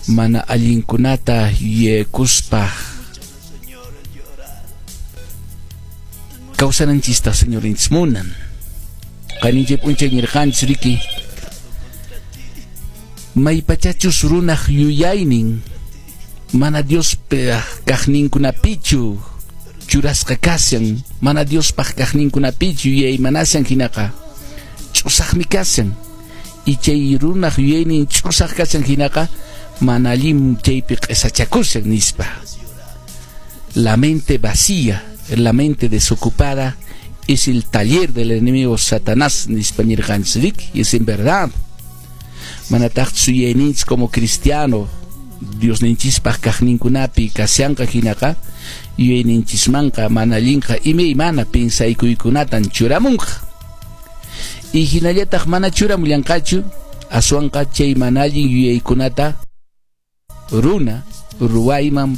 Mana allinkunata yuyaykuspa kawsananchista Señorinchis munan. Qayninchik p'unchay ñirqanchis riki, maypachachus runaq yuyaynin mana Diospaq kaqninkunapichu churasqa kashan, mana Diospaq kaqninkunapichu yuyaymanashan hinaqa ch'usaqmi kashan. Y chay runaq yuyaynin ch'usaq kashan hinaqa mana allin chaypi q'esachakushan nispa. La mente vacía, la mente desocupada es el taller del enemigo Satanás nispa ñirqanchis riki, y es en verdad. Manataqchus yuyayninchis como cristiano Diosninchispaq kaqninkunapi kashanqa hinaqa yuyayninchismanqa mana allinqa imaymana piensaykuykunatan churamunqa. Y hinallataq mana churamullanqachu, aswanqa chay mana allin yuyaykunata runa ruwayman